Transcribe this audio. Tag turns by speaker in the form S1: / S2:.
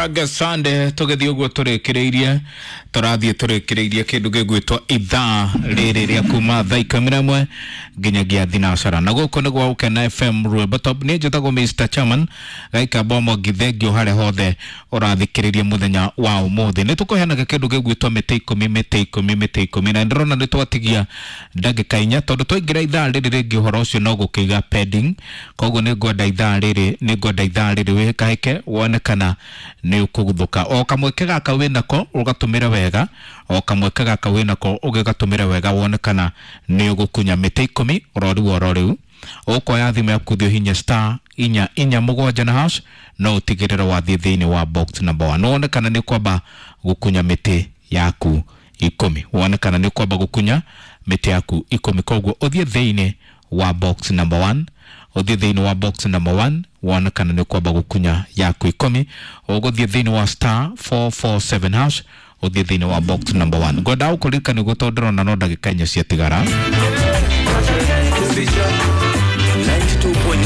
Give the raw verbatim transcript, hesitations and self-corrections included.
S1: Raga Sunday tũgĩthiĩ ũguo tũrĩkĩrĩirie, tũrathiĩ tũrĩkĩrĩirie kĩndũ gĩgwĩtwo ithaa rĩrĩ rĩa kuma thaa ikũmi na ĩmwe nginyagia thinacara, na gũkũ nĩ gwa Gũkena F M Rwĩmbo Top. Niĩ njĩtagwo Mister Chairman Gaikamba Mwangi. Thengio harĩa hothe ũrathikĩrĩria mũthenya wa ũmũthĩ. Nĩ tũkũheanaga kĩndũ gĩgwĩtwo mĩtĩ ikũmi, mĩtĩ ikũmi, mĩtĩ ikũmi, na ndĩrona nĩ twatigia ndagĩka inya tondũ twaingĩra ithaa rĩrĩ rĩngĩ ũhoro ũcio no gũkĩiga pending. Koguo nĩ ngwenda ithaa rĩrĩ nĩ ngwenda ithaa rĩrĩ wĩhĩkahĩke wone kana nĩ ũkũguthũka. O kamweke gaka wĩnako ũgatũmĩre wega, o kamweke gaka wĩnako ũgĩgatũmĩre wega, wone kana nĩ ũgũkunya mĩtĩ ikũmi ũrori wa oro rĩu. Ũkoya thimũ yaku, thiĩ ũhinye star inya inya mũgwanja na hash, no ũtigĩrĩre wathiĩ thĩinĩ wa box number one, wone kana nĩ ũkwamba gũkunya mĩtĩ yaku ikũmi, wone kana nĩ ũkwamba gũkunya mĩtĩ yaku ikũmi. Koguo ũthiĩ thĩinĩ wa box number one, ũthiĩ thĩinĩ wa box number one, wone kana nĩ ũkwamba gũkunya yaku ikũmi. Ũgũthiĩ thĩinĩ wa star four four seven hash, ũthiĩ thĩinĩ wa box number one. Ngwenda gũkũririkania ũguo tondũ ndĩrona no ndagĩka inya ciatigara.
S2: ninety-two point